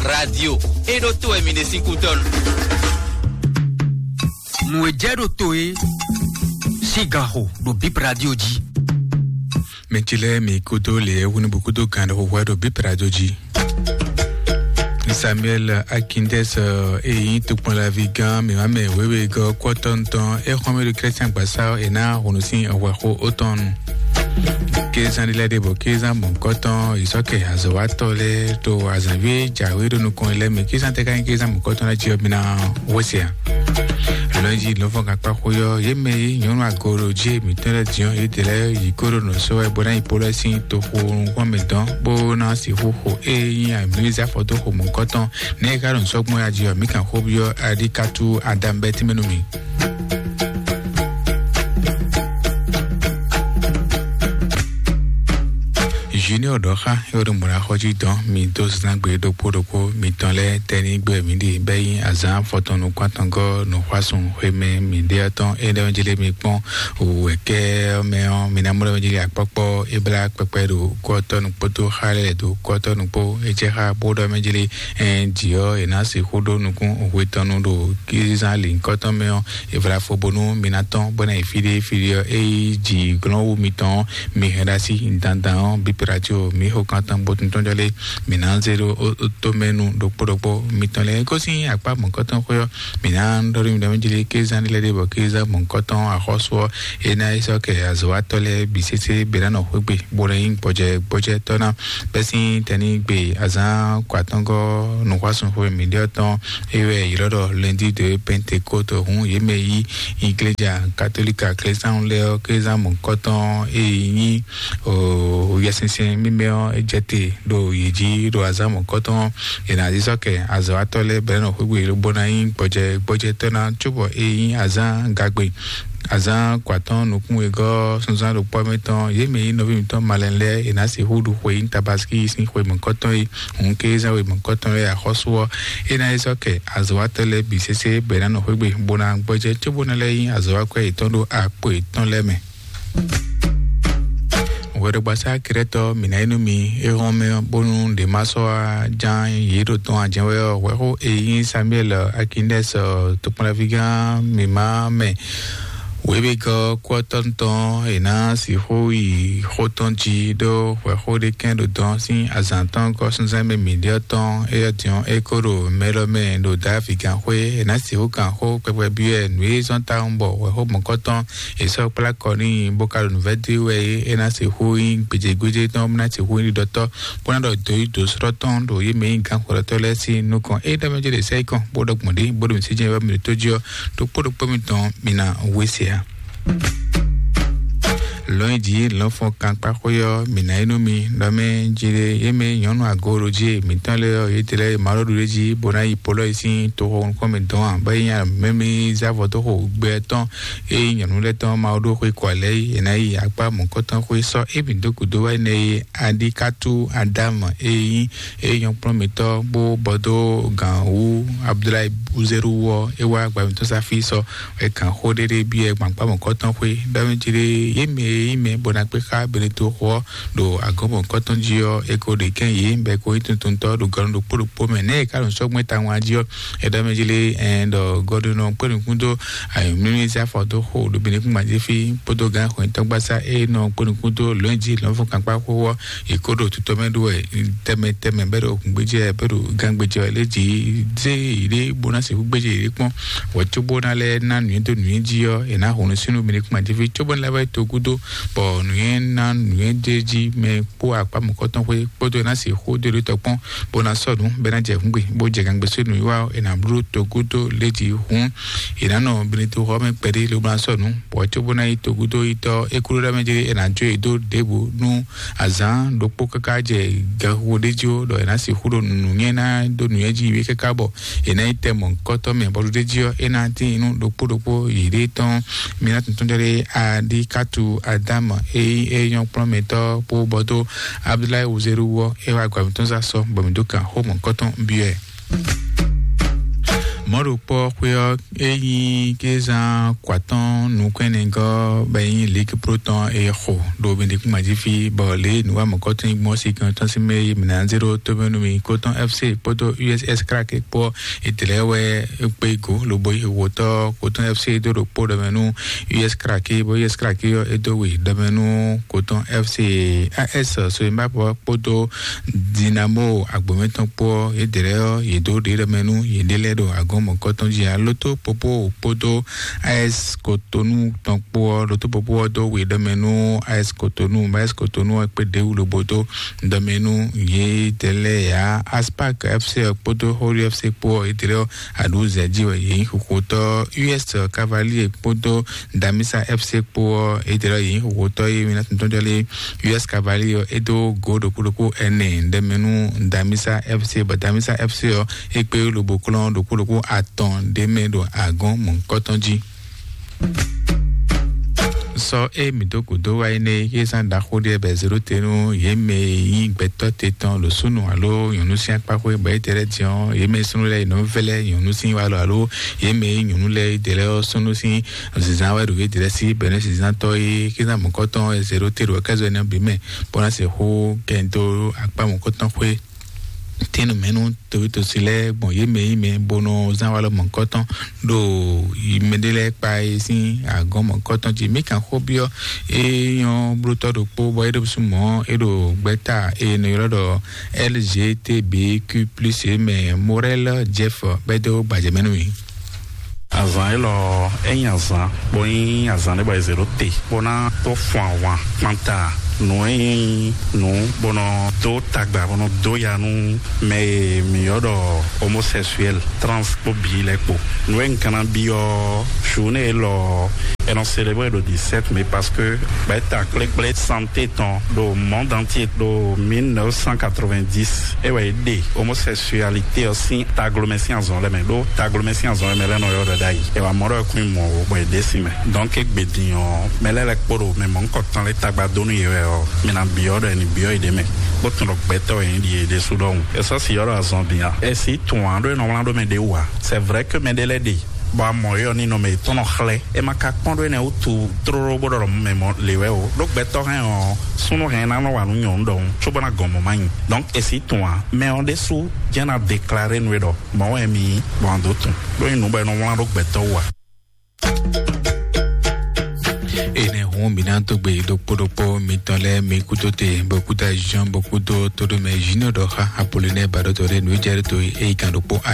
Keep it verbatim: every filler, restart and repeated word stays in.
Radio e ɖo to wɛ mi ɖe sín kútɔ́nu. Nǔ e jɛ ɖo to e sín ganxo ɖo Bip Radio jí. Mɛ ce lɛ́ɛ mi kúdó lě e hwenu bó kúdó gǎn ɖo hwɛ ɖo Bip Radio jí. Samuel Akindès, e nyí tokpɔnlaví gán mǐmá mɛ wěwegɔ́ kɔ́tɔn tɔn, é xɔ́n mɛ ɖo Klɛ́sɛn gbasá ɔ́, è ná hǔn sín hwɛxó ótɔn nu. Kézán ɖé lɛ́ɛ ɖe bɔ kézán mɔ̌hunkɔtɔn, ìsɔ́kɛ azɔ̌watɔ́ lɛ́ɛ ɖo azǎnví e jǎwe ɖo nukɔn lɛ́ɛ mɛ. Kézán tɛ́ ká nyí kézán mɔ̌hunkɔtɔn lɛ́ɛ jí ɔ́, mi ná hwesɛ ǎ. Lɔ̌nyijǐ lɔ̌nfɔ́n gankpáxwé ɔ́, yě mɛ e nyɔ̌nu agooɖojě mǐtɔn lɛ́ɛ din ɔ́, yědɛɛ lɛ́ɛ yi kó ɖo nǔ sɔ́ wɛ bó ná yi Polɔ sín toxo nukɔn mɛ dɔn, bó ná sixú xo ée nyí amǐza fɔdóxo mɔ̌hunkɔtɔn. Nɛ̌ e ka ɖo nǔ sɔ́ gbɔn ya jí ɔ́, mǐ kan xó byɔ́ Aɖíkatú Adam bɛ́ tínmɛ nú mì. Junior ɖɔ xá yɔɖo mɔ̌ ná xɔ jí dɔn mi dó zán gbe ɖokpó ɖokpó mitɔn lɛ́ɛ tɛ́ ní gbɛ mǐ ɖi bɛ́ nyí azǎn afɔtɔn nukún atɔngɔ́ nǔxwásún xwemɛ mǐɖéatɔn é ɖɛ́ jí lé mi kpɔ́n wǔwɛ̌kɛ́ ɔ́ mɛ ɔ́, mi ná mɔ ɖɛ́ jí lé akpɔ́kpɔ́ é blá kpɛkpɛ ɖo kɔ́tɔ́ nukpótó xá lɛ́ɛ ɖo kɔ́tɔ́ nukpó é jɛ xá bó ɖɔ mɛ jí lé. Ɛn jǐ ɔ́ è nǎ sixú ɖó nukún hwe tɔn nu ɖo kízán lǐnkɔ́tɔn mɛ ɔ́, è vla fo bónú mi ná tɔ́n bó ná yi fí ɖé fí ɖé ɔ́, é yí jǐ glɔ́n wú mitɔn ɔ́, mi hɛn ɖo así dandan ɔ́, bípéɖatío mi xo kan tɔn bó tún tɔ́n jɔ lé, mi ná zé ɖó tomɛ nu ɖokpó ɖokpó mitɔn lɛ́ɛ. Gosín akpá mɔ̌kɔtɔn xwé ɔ́, mi ná ɖɔ ɖó mi ɖɔ mɛ jí lé, kézán lɛ́ɛ ɖé bɔ kézán mɔ̌kɔtɔn axɔ́sú ɔ́, é ná yi sɔ́ kɛ azɔ̌watɔ́ lɛ́ɛ bǐ sésé bě ná nɔ xwé gbe bó ná nyí gbɔjɛ gbɔjɛtɔ́ ná. Bɛ́ sín tɛnígbe azǎn kɔ atɔ́ngɔ́ nǔxwásúnxwe mǐɖéɔ tɔn, é wɛ è ylɔ́ ɖɔ lundi de Pentecôte hǔn yě mɛ yí igleja katolika klɛ́sánú lɛ́ɛ ɔ́, kézán mɔ̌kɔtɔn e nyí Yɛsinsɛn mímɛ́ ɔ́, é jɛ te ɖo yě jí ɖo azǎn mɔ̌kɔtɔn ɔ́, è nǎ zí sɔ́ kɛ azɔ̌watɔ́ lɛ́ɛ bɔ é nɔ xwé gbe bó ná nyí gbɔjɛ gbɔjɛtɔ́ ná cóbɔ é nyí azǎn gagbe. Azǎn kɔ atɔ́ɔ́n nukún wegɔ́ sunzán ɖokpɔ́ mɛ tɔn, yě mɛ nyí nɔví mǐtɔn malɛn lɛ́ɛ, è nǎ sixú ɖu xwe nyí tabaskí sín xwe mɔ̌kɔtɔn e hǔn kézán we mɔ̌kɔtɔn e axɔ́sú ɔ́, é ná yi sɔ́ kɛ azɔ̌watɔ́ lɛ́ɛ bǐ sésé bɔ è nǎ nɔ xwé gbe bó ná gbɔjɛ cóbó ná lɛ́ nyí azɔ̌wakwɛ́ yětɔn ɖó akpo yětɔn lɛ́ɛ mɛ. Hwɛɖɔgbasá Krɛtɔ mǐ ná yi nú mi é hɔn mɛ ɔ́, bónú ɖě ma sɔ́ wá ján yě ɖo tɔn ǎ jɛ́n wɛ ɔ́, hwɛxó e nyí Samuel Akindɛs tokpɔnɖaví gán mǐmá mɛ wěwegɔ́ kú ɔ́ tɔn tɔn è nǎ sixú yi xó tɔn jí ɖó hwɛxó ɖé kɛn ɖo dɔn sín azǎn tɔn gɔ́ súnzán mɛ mǐ ɖe ɔ́ tɔn, éyɛ́ din ɔ́, é kó ɖo mɛ lɔ mɛ ɖo Davídi gán xwé, è nǎ sixú gán xó kpɛkpɛ byɔ́ ɛ nǔ e zɔ́n tawun bɔ hwɛxó mɔ̌kɔtɔn è sɔ́ kplá kɔ n'i, bó ka ɖo nǔvɛ́ dó wɛ é, é ná sixú nyí gbějégbéjé tɔn, bó ná sixú nyí ɖiɖɔtɔ́, bó ná ɖɔ dǒ yi dǒ srɔ́ tɔn ɖo yě mɛ nyí gǎnxwlɔ́tɔ́ lɛ́ɛ sín nukɔn. É ɖɔ mɛ jɛ ɖě sɛ yí kɔn, bó ɖɔ gbɔn ɖě, bó ɖo mǐ sí jɛ wɛ mǐ ɖo tó jí ɔ́, ɖokpó ɖokpó mitɔn mǐ ná wé se ǎ. Lɔ̌nyijǐ lɔ̌nfɔn kankpaxwé ɔ́, mǐ ná yi nú mi, ɖɔ mɛ jí ɖé, yě mɛ nyɔ̌nu agooɖojě mǐtɔn lɛ́ɛ ɔ́, yě tlɛ Mawu ɖo ɖuɖéjí bó ná yi Polɔ́yi sín toxo nukɔn mɛ dɔn ǎ, bɔ é nyí mɛ mi zá vɔ dó xo gbɛ tɔn, ée nyɔ̌nu lɛ́ɛ tɔn Mawu ɖó xwé kɔ lɛ́ɛ é, è nǎ yi akpá mɔ̌kɔtɔn xwé sɔ́ émí dó gǔdo wá énɛ́ é, Aɖíkátú Adámu e nyí é nyɔ́ kplɔ́n mǐtɔn bó bɔ dó gǎn wú Abudulayi Uzeru wú ɔ́, é wá gba mǐtɔn sá fí sɔ, é gǎn xó ɖéɖé byɔ́ ɛ gbɔn akpá mɔ̌kɔtɔn xwé, ɖɔ mɛ jí ɖé, yě mɛ e nyí mɛ bó ná kpé xá Beneto xó ɔ́ ɖo agɔ̌ mɔ̌kɔtɔn jí ɔ́, é ko ɖe kɛ́n yě bɔ é ko nyí tuntuntɔ́ ɖo gɔ́ ɖokpó ɖokpó mɛ. Nɛ̌ è ka ɖo sɔ́ gbɛ́ tawun a jí ɔ́, é ɖɔ mɛ jí lé, ɛn ɖɔ gɔ́ɖónɔ kpé nukún dó ayǐmlímlí sín afɔ dó xo ɖo Beneto kún gbajé fí kpódó gǎn xwɛ̌ntɔ́gbasá e nɔ kpó nukún dó lɔ̌nyijǐ lɔ̌nfɔ́n kankpá xó ɔ́, yě kó ɖo tutɔ mɛ ɖó wɛ tɛmɛ tɛmɛ bɛ́ ɖo gǔngbéjɛ bɛ́ ɖo gángbéjɛ ɔ́ lé jí zé yěɖée bó ná sixú gbéjɛ yěɖée kpɔ́n. Hwɛ cóbó ná lɛ́ ná nǔnywɛ́ dó nǔnywɛ́ jí ɔ́, è nǎ hun nú sínú Beneto kún gbajé fí cóbó ná lɛ́ vɛ́ to gúdo, bɔ nǔnywɛ́ ná nǔnywɛ́ dó jí mɛ kpó akpá mɔ̌kɔtɔn xwé kpódó ná sixú dó ɖo tɔ kpɔ́n, bó ná sɔ́ nǔ bɛ́ ná jɛ hǔngbe, bó jɛ gangbe sín nǔwiwa ɔ́, è nǎ bló togudo lé jí hǔn. È nǎ nɔ Beneto xɔ mɛ kpɛɖé lobo ná sɔ́ nǔ, bɔ cóbó ná yi togudo yi tɔ́ é kúɖó ɖɔ mɛ jlé è nǎ jó yě dó ɖěbǔ nú azǎn ɖokpó káká jɛ gaxuxu ɖé jí ó, ɖɔ è nǎ sixú ɖo nǔnywɛ́ ná dó nǔnywɛ́ jí wé káká bɔ è nǎ yi tɛ mɔ̌hunkɔtɔn mɛ bɔ ɖuɖé jí ɔ́, é ná tíin nú ɖokpó ɖokpó yěɖée tɔn. Mi ná tuntun jɔ ɖé Aɖíkátú Adámu e nyí é nyɔ́ kplɔ́n mɛ tɔ́ kpó bɔ dó Abudulayi Wuzeru ɔ́, é wá gba mǐtɔn zá sɔ, bɔ mǐ dó kan xó mɔ̌hunkɔtɔn byɔ́ ɛ. Mɔ̌ɖokpɔ́ xwé ɔ́, é nyí kézán kwatɔ́n nukɔn ɛnɛgɔ́ bɔ é nyí Ligue Pro tɔn e xo ɖo Bɛnɖekúngban jí fí, bɔ lě e nǔwamɔ̌kɔ́tɔn nyí gbɔn sí kan tɔn sín mɛ e mǐ ná zé ɖó tómɛ nú mì. Kotɔn F C kpódó U S S Krake kpó ɔ́, è tlɛ wɛ é kpé go lobo yi wǒtɔ́ Kotɔn F C dó ɖokpó ɖɔ mɛ nú U S Krake, bɔ U S Krake ɔ́, é dó we ɖɔ mɛ nú Kotɔn F C. A S Soyinbabɔ kpódó Dinamo Agbomɛtɔn kpó ɔ́, yědɛɛ lɛ́ɛ ɔ́, yě dó ɖě ɖɔ mɛ nú yěɖée lɛ́ɛ ɖo agɔn mɔ̌kɔtɔn jí ǎ. Lótó Popo kpódó A S Kotonu tɔn kpó ɔ́, Lótó Popo ɔ́ dó we ɖɔ mɛ nú A S Kotonu, bɔ A S Kotonu ɔ́ kpé ɖěwú lobo dó ɖɔ mɛ nú yědɛɛ lɛ́ɛ ǎ. Aspak F C ɔ́ kpódó Hori F C kpó ɔ́, yědɛɛ lɛ́ɛ ɔ́, aɖǔ zɛ jí wɛ yě nyí xoxotɔ́. U S Cavalier kpódó Damisa F C kpó ɔ́, yědɛɛ lɛ́ɛ ɔ́, yě nyí xoxotɔ́. Yě mǐ ná tɔn jɔ lé U S Cavalier ɔ́, é dó gǒ ɖokpó ɖokpó ɛnɛ ɖɛ mɛ nú Damisa F C, bɔ Damisa F C ɔ́, é kpé lobo klɔ́n ɖokpó ɖokpó atɔn ɖ'é mɛ ɖo agɔn mɔ̌hunkɔtɔn jí. Sɔ e mǐ dó gǔdo wá énɛ́, yě zán ɖaxó ɖé bɛ zéɖó te nú yě mɛ e nyí gbɛtɔ́ te tɔn ɖo súnnu alo nyɔ̌nu sín akpá xwé, bɔ yě tɛ lɛ́ɛ din ɔ́, yě mɛ e súnnu lɛ́ɛ yě nɔ vɛ́ lɛ́ɛ nyɔ̌nu sín walɔ alo yě mɛ e nyí nyɔ̌nu lɛ́ɛ yě ɖe lɛ́ɛ ɔ́, súnnu sín zǐnzán wɛ ɖo yě ɖe lɛ́ɛ sí bɛ̌nɛ́ zǐnzán tɔ́ e kézán mɔ̌kɔtɔn e zéɖó te ɖo kɛ́zɔ énɛ́ bǐ mɛ, bó ná sixú kɛ dó akpá mɔ̌kɔtɔn xwé. Tínú mɛ nú towítosi lɛ́ɛ gbɔn yě mɛ yí mɛ bó nɔ zán walɔ mɔ̌kɔtɔn ɖo mɛɖé lɛ́ɛ kpa e sín agɔn mɔ̌kɔtɔn jí. Mǐ kan xó byɔ́ é nyɔ́ blótɔ́ ɖokpó bɔ é ɖo sú mɔ̌ é ɖo gbɛ́ta e è nɔ ylɔ́ ɖɔ L G T B Q plus é mɛ Morel Jeff bɛ́ dó gbajɛ mɛ nú mì. Azǎn élɔ́ é nyí azǎn bó nyí azǎn ɖé bɔ è zě ɖó te bó ná tó fun ahwan kpanta nǔ e nyí nǔ bó nɔ dó tagba bó nɔ dó ya nú mɛ e mǐ ylɔ́ ɖɔ homosexuel, trans kpó bi lɛ́ɛ kpó. Nǔ e un ka ná byɔ́ journée élɔ́, è nɔ célébrer ɖo dix-sept mai parce que gbɛ̌ta kplékplé santé tɔn ɖo monde entier ɖo mille neuf cent quatre-vingt-dix é wɛ é ɖe homosexualité ɔ́ sín taglomɛ sín azɔn lɛ́ɛ mɛ, ɖó taglomɛ sín azɔn lɛ́ɛ mɛ lɛ́ɛ nɔ ylɔ́ ɖɔ ɖ'ayǐ. È wǎ mɔ ɖɔ é kún nyí mɔ̌ ó, bɔ è ɖe sín mɛ. Donc égbé din ɔ́, mɛ lɛ́ɛ lɛ́ɛ kpó ɖo mɛ mɔ̌hunkɔtɔn lɛ́ɛ tagba dó nú yě wɛ ɔ́, mi ná byɔ́ ɖɔ è nǐ byɔ́ yě ɖ'é mɛ, bó tunwun ɖɔ gbɛtɔ́ wɛ nyí ɖi yě ɖésú ɖɔhun. È sɔ́ si ylɔ́ ɖɔ azɔn din a? È sí tunwun ǎ ɖó è nɔ wlán ɖó mɛ ɖé wú ǎ. C'est vrai que mɛ ɖé lɛ́ɛ ɖe bɔ a mɔ é ɔ́, ninɔmɛ yětɔn nɔ xlɛ́. È ma ka kpɔ́n ɖó énɛ́ wútu tlóló bó ɖɔ mɛ mɔ lě wɛ o. Ɖó gbɛtɔ́ hɛn ɔ́, súnnu hɛn ná nɔ wa nú nyɔ̌nu ɖɔhun, cóbó ná gɔn mɔ̌ ma nyi. Donc è sí tunwun ǎ. Mɛ ɔ́ ɖésú jɛ́n ná déclarer nú é ɖɔ mɔ̌ wɛ mi nyí, bɔ a dǒ tunwun. Ɖó nyí nǔ bɔ è nɔ wlán ɖó gbɛtɔ́ wú ǎ. Ene hɔn mi na to gbe ɖokpó ɖokpó mitɔn lɛ mi kuto te bɔ kuta Jean bɔ kudo to ɖo mɛ Junior ɖɔ xa Apollinaire ba ɖɔ to ɖe nu jɛ ɖo to e yi kan ɖokpó a